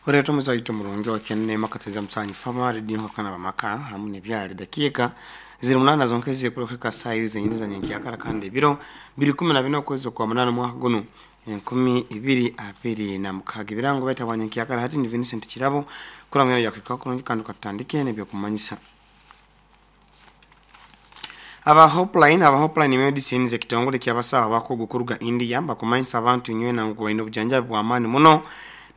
Oreeta omuzaito murungi wa Kyenema Kateza Musanyi Fama Radio Nkakana Bamaka hamu nebyali dakiika ziri 8 zonka ezikuruka saa zenyini za nyenkyakara kandi ebiro biri 14 okwezi kwa 8 mwaka guno 2026. Ebirango baita bwa nyenkyakara hati ni Vincent Kirabo kuramya yakika kurungi kandi katandike nebyokumanyisa. Aba Hopeline Medicines ekitongole ky'abasawo abakugu kuruga India bakumanyisa abantu inywena ngu baine obujanjabi bw'amaani muno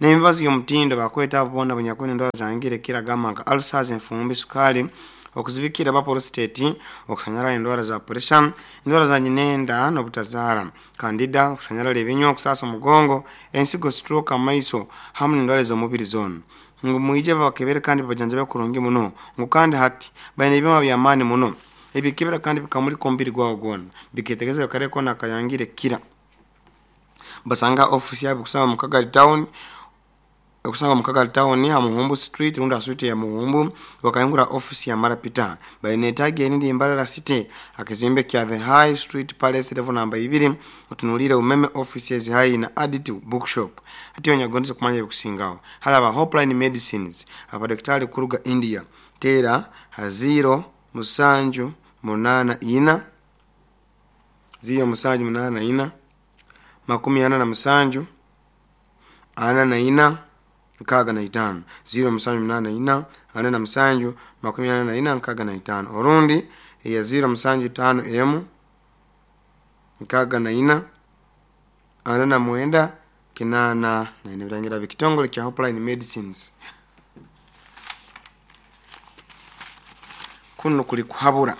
n'emibazi y'omutindo. Bakweta abo boona abanyakwine endwara zangire kiragamba nka ulcers, enfumbi, sukali, okuzibikira aba prostate, okusanyarara endwara za pressure, endwara za nyinenda n'obutazaara, candida, okusanyarara ebinywa, okusasa omugongo, ensigo, stroke, amaiso hamu n'endwara ez'omubiri zoona. Ngu mwije babakebere kandi babajanjabe kurungi muno. Ngu kandi hati baine ebyoma by'amaani muno ebikebera kandi bikamulika omubiri gwawe gwona, biketegereza kare kona akayangire kira. Basanga ofisi yabo kusanga mu Kagali Town, okusanga mu Kagali Town ha Muhumbu Street rundi ha street ya Muhumbu, wakayungura ofisi ya Marapita. Baine tagi erindi Mbarara City akizimbe kya The High Street Palace level namba 2, utunulire umeme offices high na Adit Bookshop. Hati onyagonze kumanya ebikusingaho halaba Hopeline Medicines abadaktari kuruga India. Tera ha 0 7 8 4 0 7 8 4 47 44 65 0 7 8 4 47 44 65 orundi ya 0 7 5 emu 64 49 8 na birangira bikitongole kya Hopeline Medicines. Kuno kuli kuhabura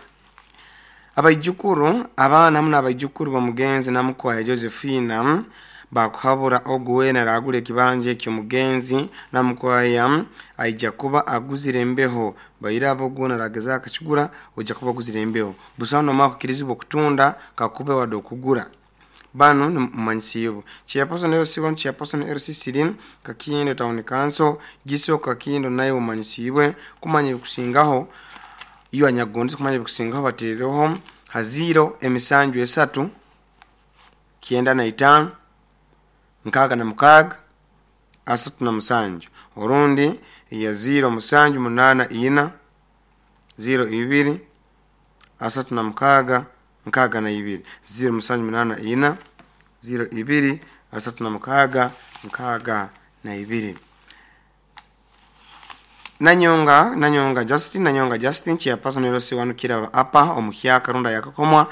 abaijukuru abaana hamu n'abaijukuru bamugenzi namukwaya Josephina bakuhabura ogu wena aragura ekibanja ekyomugenzi namukwaya aija kuba aguzire embeho. Baira abo ogwo narageza akakigura ojja kuba aguzire embeho. Busaho nomara kukirizibwa okutunda kakube wadde okugura. Bano mumanyisiibwe chairperson LC1, chairperson LC3 Kakindo Town Council Giso Kakindo naye mumanyisiibwe kumanya ebikusingaho. Iyo anyagonze kumanya ebikusingaho bateereho ha 0 emisanju 3 95 66 37 orundi ya 0 7 8 4 0 2 36 62 0 7 8 4 0 2 36 62. Nanyonga Justin chairperson LC1 Kiraba apa omuhyaka runda yakakomwa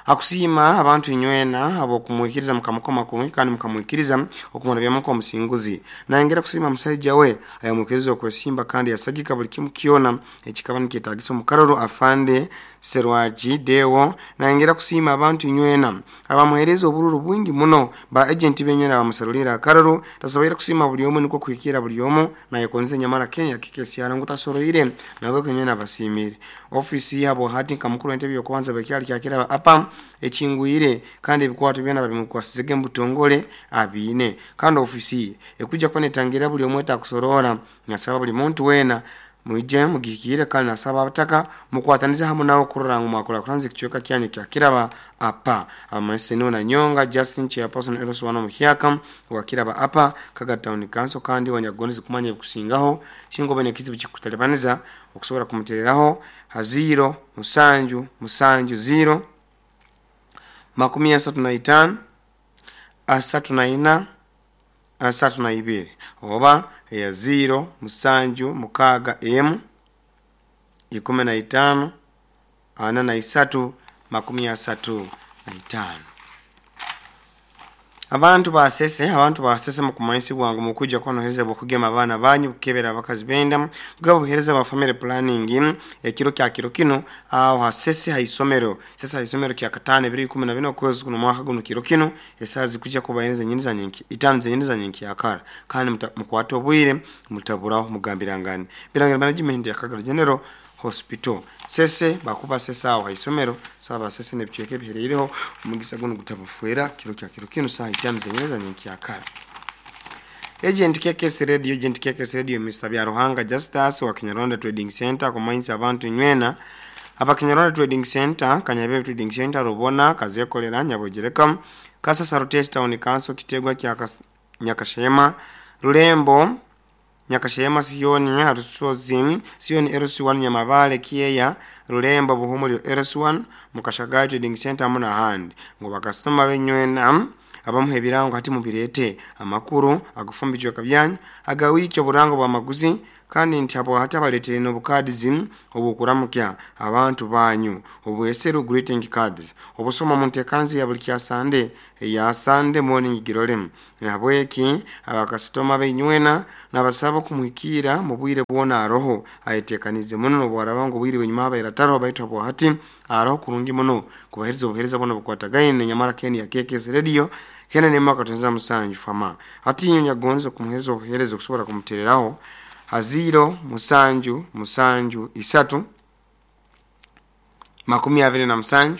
akusiima abantu inywena abo kumuikiriza mukamukoma kurungi kandi mukamuikiriza okumona byamuko omusinguzi. Nayongera kusiima musajja we ayamukiriza okwesimba kandi yasagika buli kimu kyona ekikaba nikyetagisa omukaroro afande Serwaji Dewo. Nayongera kusiima abantu inywena abamuhereza obururu bwingi muno ba agent benywena bamusalulira akaroro. Tasoboire kusiima buli omu nikwo kuhikira buli omu nayekonze nyamara Kenya kikesyara ngu tasoroire nabwo kenywena basimire. Ofisi yabo hati nka mukuru w'entebe y'okubanza bekyali kyakira apa ekingwire kandi ebikwato byona babimukwasizege mubutongole abiine kandi ofisi ekujja kuba netangira buli omwe takusorora. Nasaba buli muntu wena mwije mugihikire kandi nasaba abataka mukwatanize hamu nawe kurora ngu mwakora kuranza ekicweka kyanyu kya Kiraba apa. Amaseno na Nyonga Justin chairperson LC1 omuhyaka wa Kiraba apa Kaga Town Council kandi wanyagonze kumanya ebikusingaho singo bene kizibu kikutalibaniza okusobola kumutereraho ha 0 7 7 0 35 34 32 oba ya 0 7 6 emu 15 43 35. Abantu basese mukumanyisibwa ngu mukujja kwanohereza bwokugema abaana banyu kukebera abakazi benda kugaba obuhereza bwa family planning ekiro kya kiro kino aho hasese haisomero sesa haisomero kya katano 2014 okwezi kuno mwaka guno kiro kino esaha zikujja kubahereza nyini za nyenki itano zenyini za nyenki yakara kandi mukwate obwire mutaburaho mugambirangane birangira management ya Kagara General Hospital sese bakuba sesa aho haisomero saba sese nebichweke biherereho omugisa guno gutabafuera kiro kya kiro kino saa itano zenyini za nyenki yakara. Agent KKS Radio, Agent KKS Radio Mr. Byaruhanga Justus wa Kinyarwanda Trading Center kumanyisa abantu nywena aba Kinyarwanda Trading Center, Kanyabe Trading Center, Rubona, Kazekolera, Nyabogereka, Kasasa Rotate Town Council, Kitegwa kya Nyakashema, Rulembo, Nyakashema, Siyoni, Harusozi, Siyoni LC1, Nyamabale, Kieya, Rulembo, Buhumuliro LC1, Mukashagai Trading Center hamu n'ahandi. Ngu bakasitoma benywena abamuha ebirango hati mubirete amakuru agufumba ebicweka byanyu aga wiiki, oburango bw'amaguzi, kandi nti abo hati abaleetere n'obukadizi obw'okuramukya abantu banyu obweseru greeting cards obusoma mu nteekanzi ya buli kya Sande eya Sunday Morning Girore. Nahabweki abakasitoma beinywena nabasaba okumuhikiira mu bwire bwona aroho ayeteekaniize muno, n'obwaraba ngu obwire bw'enyuma abaire ataroho, baitu habwa hati aroho kurungi muno kubaheereza obuheereza bwona obukwatagaine nyamara keni ya KKS Radio kene 1.7 fama. Hati inywe nyagonza kumuheereza obuheereza okusobora kumutereraho ha 0 7 7 3 27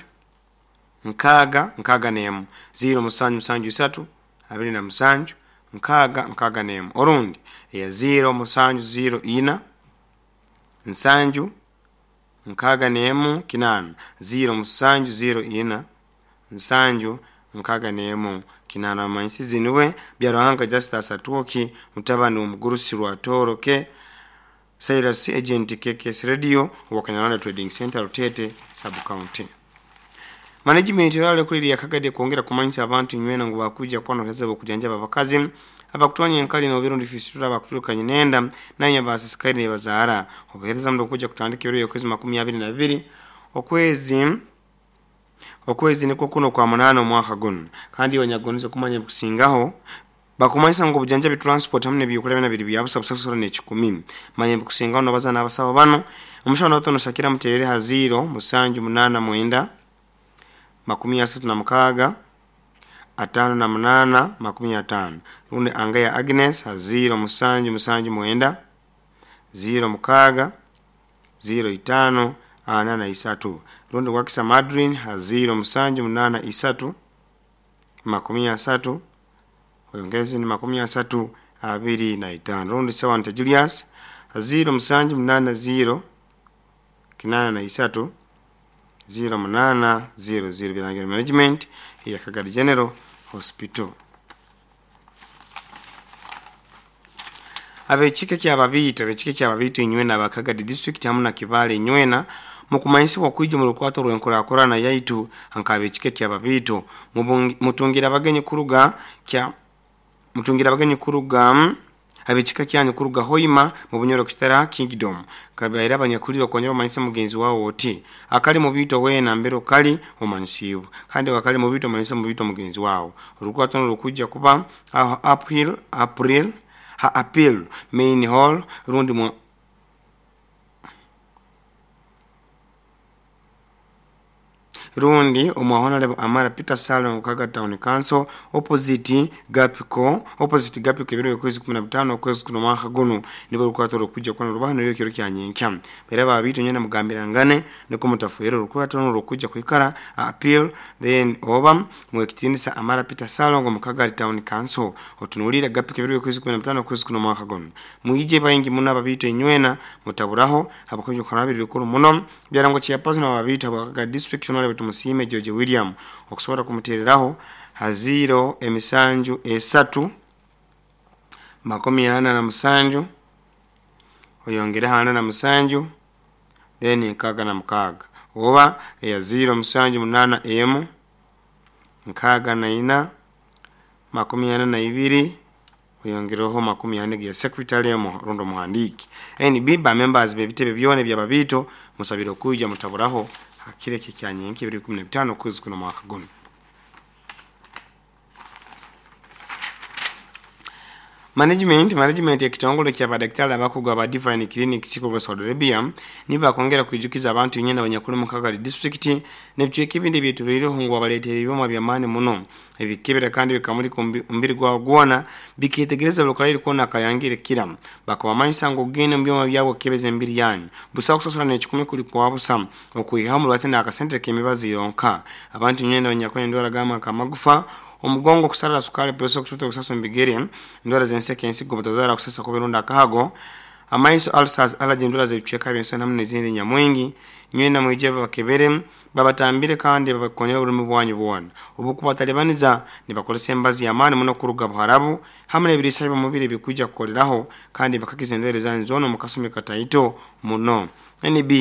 6 61 0 7 7 3 27 6 61, orundi eya 0 7 0 4 7 61 8 0 7 0 4 7 61 8. Amanyisizi niwe Byaruhanga Justus Atwoki, mutabani w'omugurusi Rwatoroke Cyrus, agent KKS Radio wa Kanyarwanda Trading Center, Rutete sub county. Management yale kuli yakagade kwongera kumanyisa abantu inywena ngu bakuja kuba okujanjaba abakazi abakutwanya enkali n'obirundi fistula abakuturukanye nenda nanya basisikaire nebazaara. Obuheereza muno okuja kutandika ebiro by'okwezi 22 okwezi nikwo kuno kwa 8 omwaka guno. Kandi wanyagoniza kumanya ebikusingaho bakumanyisa ngu obujanjabi, transport hamu n'ebyokulya byona biri bya busa busasura n'ekikumi. Manya ebikusingaho nobaza n'abasawo bano. Omushaho notono Shakira muterere ha 0 7 8 9 36 58 50, rundi Angaya Agnes ha 0 7 7 9 0 6 0 5 43, rundi Wakisa Madrin ha 0 7 8 3 30 oyongezi ni 30 25, rundi Sewante Julius ha 0 7 8 0 83 0 8 0 0. Birangiro Management ya Kagadi General Hospital. Abekika ky'ababiito, abekika ky'ababiito inywena abakagadi district hamu na Kibaale inywena mukumanyisibwa okwija omu rukwato rw'enkurakurana yaitu nk'abekika ky'ababiito. Mutungira abagenyi kuruga kya mutungira abagenyi kuruga abekika kyanyu kuruga Hoima mu Bunyoro Kitara Kingdom kabaire abanyakulire okongera omanyisa mugenzi wawe oti akali mu biito weena mbere okali omanyisibwa, kandi wakali mu biito omanyisa mu biito mugenzi wawe. Orukwato nirukujja kuba aho April April ha Appeal Main Hall rundi mu rundi omwa Honorable Amara Peter Salon Kaga Town Council opposite Gapiko, opposite Gapiko, ebiro by'okwezi 15 okwezi kuno mwaka guno nibwo rukwato rukujja kuba rubaha niryo kiro kya nyenkya. Era babiito nyena mugambirangane niko mutafuire orukwato rukujja kwikara Appeal then oba mwekitinisa Amara Peter Salon mu Kagari Town Council otunulira Gapiko ebiro by'okwezi 15 okwezi kuno mwaka guno. Mwije baingi muno ababiito inywena mutaburaho abakozi korabiri bikuru muno byarango chairperson ababiito abakaga district Honorable Tumusiime George William okusobora kumutereraho ha 0 emisanju 3 47 oyongereho 47 then 66 oba eya 0 7 8 1 64 42 oyongereho 40 ya secretary rundo muhandiki. NB ba members bebitebe byona by'ababiito musabire okuija mutaburaho hakire kyanyenki 2015 okwezi kuno mwaka guno. Management ekitongole kya badaktari abakugu aba Divine Clinic Siko Saudi Arabia niba kongera kwijukiza abantu nyena abanyakuli mu Kagari district n'ebicweka ebindi byetureireho ngu abaleetera ebyoma by'amaani muno ebikebera kandi bikamulika omubiri gwawe gwona biketegereza buli kwona akayangire kira. Bakabamanyisa ngu ogende mu byoma byabo okukebeza emibiri yanyu busa kusasura n'ekikumi kuli kwa busa okwihaho omurwate n'akasente k'emibazi yonka. Abantu nyena abanyakuli endwara gamba nk'amagufa, omugongo, kusarara, sukari, pressure, kushuta, kusasa omu bigere, endwara z'enseke, ensigo, butazaara, kusasa kuba erundi akahago, Amaiso, ulcers, allergy, endwara z'ebicweka by'ensoni hamu n'ezindi nyamwingi. Nywena mwije babakebere, babatambire kandi babakonyere oburumi bwanyu bwona. Obukubatalibaniza nibakozesa emibazi y'amaani muno kuruga Buharabu hamu n'ebiriisa by'omubiri ebikwija kukoleraho kandi bakakiza endwaire zanyu zoona omu kasumi kataito muno. NB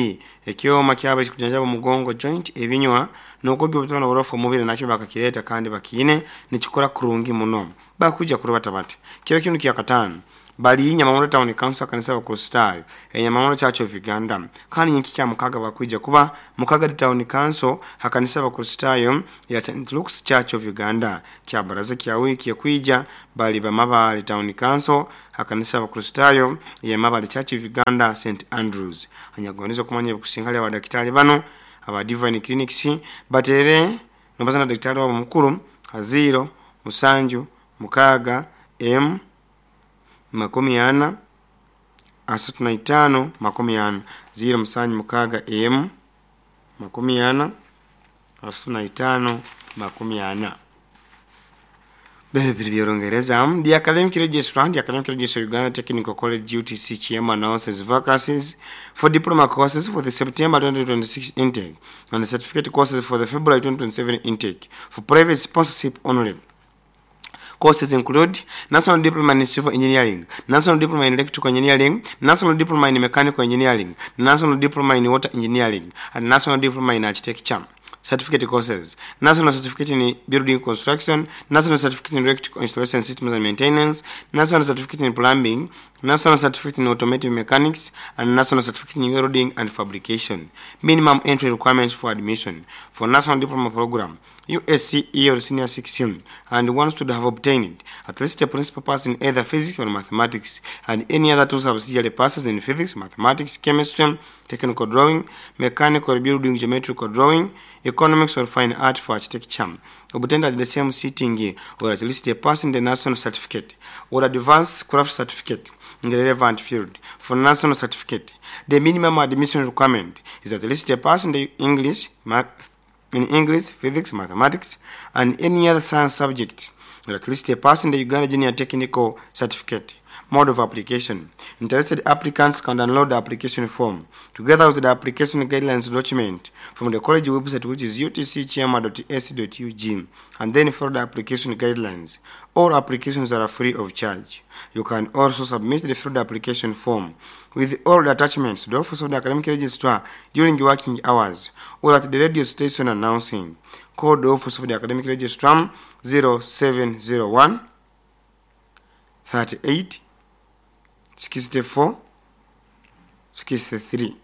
ekyoma kyabo ekikujanjaba omugongo, joint, ebinywa n'okwogya obutwa n'oburofu omubiri nakyo bakakireeta kandi bakiine nikikora kurungi muno. Bakwija kurubata bati. Kiro kinu kyakataano bali Nyamahoro Town Council, kanisa y'Abakristaayo Enyamahoro Church of Uganda. Kandi nyenkya kya mukaga bakwija kuba Mukagadi Town Council ha kanisa y'Abakristaayo ya St Luke's Church of Uganda. Kya baraza kya wiiki ekwija bali Bamabale Town Council ha kanisa y'Abakristaayo ya Mabale Church of Uganda St Andrews. Anyakugondeze okumanya ebikusinga hali abadakitaali banu aba Divine Clinics, bateere nobaza na dakitaali wabo omukuru ha 0 7 6 M 40 35 40 0 7 6 M 40 35 40. Bino biri by'Orungereza. The Academic Registrar, the Academic Registrar, Uganda Technical College UTC Kyema, announces vacancies for diploma courses for the September 2026 intake and the certificate courses for the February 2027 intake for private sponsorship only. Courses include National Diploma in Civil Engineering, National Diploma in Electrical Engineering, National Diploma in Mechanical Engineering, National Diploma in Water Engineering, and National Diploma in Architecture. Certificate courses: National Certificate in Building Construction, National Certificate in Electrical Installation Systems and Maintenance, National Certificate in Plumbing, National Certificate in Automotive Mechanics, and National Certificate in Welding and Fabrication. Minimum entry requirements for admission for National Diploma Program: USCE or Senior 16, and one should have obtained at least a principal pass in either physics or mathematics, and any other two subsidiary passes in physics, mathematics, chemistry, technical drawing, mechanical building, geometrical drawing, economics or fine art for architecture. Obtained at the same sitting, or at least a pass in the national certificate or advanced craft certificate in the relevant field. For national certificate, the minimum admission requirement is at least a pass in the English, math, in English, physics, mathematics, and any other science subject, or at least a pass in the Uganda Junior Technical Certificate. Mode of application. Interested applicants can download the application form together with the application guidelines document from the college website, which is utcchairman.ac.ug, and then follow the application guidelines. All applications are free of charge. You can also submit the filled application form with all the attachments to the Office of the Academic Registrar during working hours or at the radio station announcing. Call the Office of the Academic Registrar 0701 38 64 63,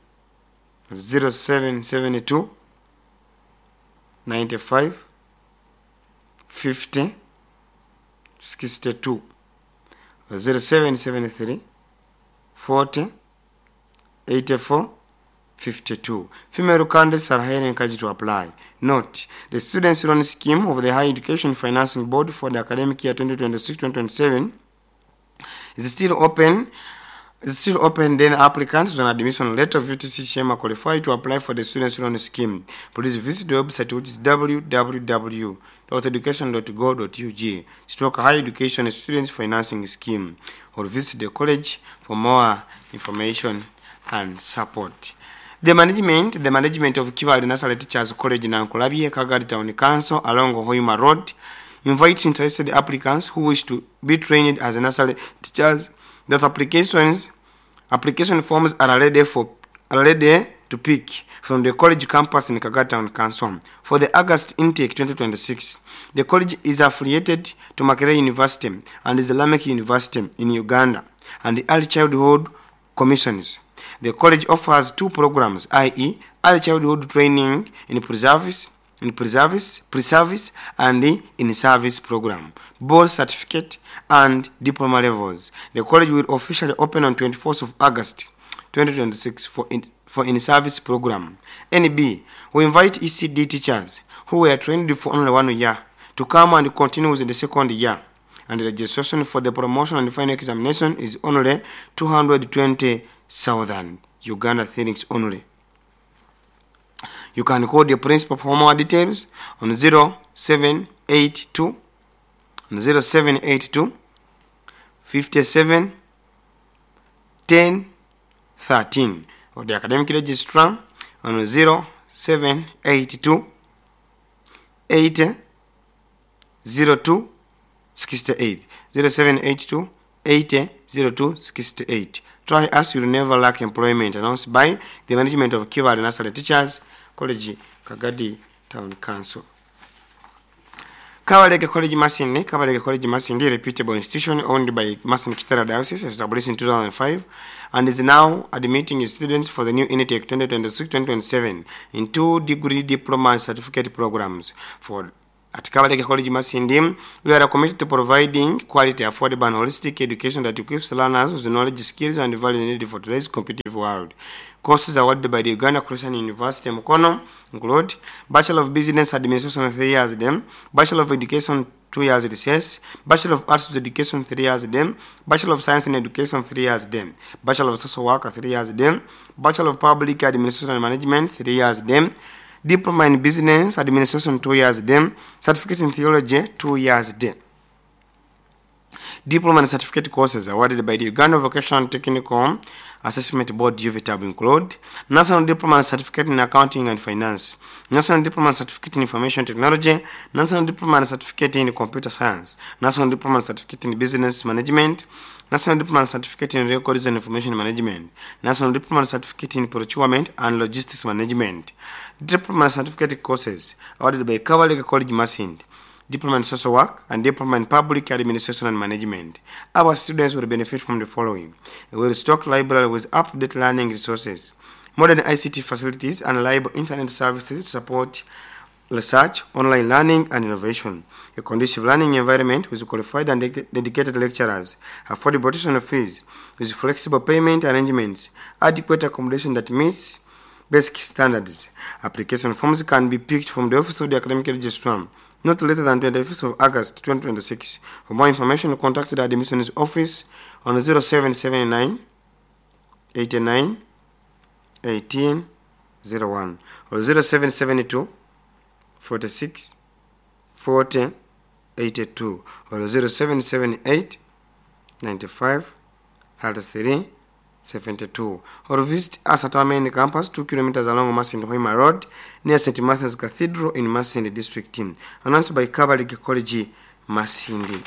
0772 95 50 62, 0773 40 84 52. Female candidates are highly encouraged to apply. Note, the Students' Loan Scheme of the Higher Education Financing Board for the academic year 2026-2027 is still open. Is still open. Then applicants with an admission letter of UTC Sheema qualify to apply for the Students' Loan Scheme. Please visit the website, which is www.education.go.ug stroke higher education students financing scheme, or visit the college for more information and support. The management of Kibaale Nursery Teachers College, Nankulabye, Kagadi Town Council along Hoima Road, invites interested applicants who wish to be trained as nursery teachers that application forms are ready to pick from the college campus in Kagadi Town Council for the August intake 2026. The college is affiliated to Makerere University and Islamic University in Uganda and the Early Childhood Commissions. The college offers two programs, i.e., early childhood training in pre-service and the in-service program, both certificate and diploma levels. The college will officially open on 24th of August 2026 for in-service program. NB, we invite ECD teachers who were trained for only one year to come and continue with the second year. And the registration for the promotion and final examination is only 220,000 Uganda shillings only. You can call the principal for more details on 0782 0782 57 10. 13 or the academic registrar on 0782 80 02 68. 0782 80 02 68. Try us, you'll never lack employment. Announced by the management of Kibaale Nursery Teachers College, Kagadi Town Council. Kabalega College Masindi. Kabalega College Masindi, a reputable institution owned by Masindi Kitara Diocese, established in 2005 and is now admitting students for the new intake 2026-2027 in two degree, diploma and certificate programs. For at Kabalega College Masindi, we are committed to providing quality, affordable and holistic education that equips learners with the knowledge, skills and values needed for today's competitive world. Courses awarded by the Uganda Christian University Mukono include Bachelor of Business Administration 3 years dem, Bachelor of Education 2 years recess, Bachelor of Arts with Education 3 years dem, Bachelor of Science in Education 3 years dem, Bachelor of Social Work 3 years dem, Bachelor of Public Administration and Management 3 years dem, Diploma in Business Administration 2 years dem, Certificate in Theology 2 years dem. Diploma and certificate courses awarded by the Uganda Vocational Technical Assessment Board UVTAB include National Diploma and Certificate in Accounting and Finance, National Diploma and Certificate in Information Technology, National Diploma and Certificate in Computer Science, National Diploma and Certificate in Business Management, National Diploma and Certificate in Records and Information Management, National Diploma and Certificate in Procurement and Logistics Management. Diploma and Certificate courses awarded by Kabalega College Masindi, Diploma in Social Work and Diploma in Public Administration and Management. Our students will benefit from the following: a well-stocked library with up-to-date learning resources, modern ICT facilities and reliable internet services to support research, online learning and innovation, a conducive learning environment with qualified and dedicated lecturers, affordable tuition fees with flexible payment arrangements, adequate accommodation that meets basic standards. Application forms can be picked from the Office of the Academic Registrar not later than 25th of August 2026. For more information, contact the admissions office on 0779 89 18 01 or 0772 46 40 82 or 0778 95 33 72 or visit us at our main campus 2 kilometers along Masindi Hoima Road near St. Matthew's Cathedral in Masindi District. Announced by Kabalega College Masindi.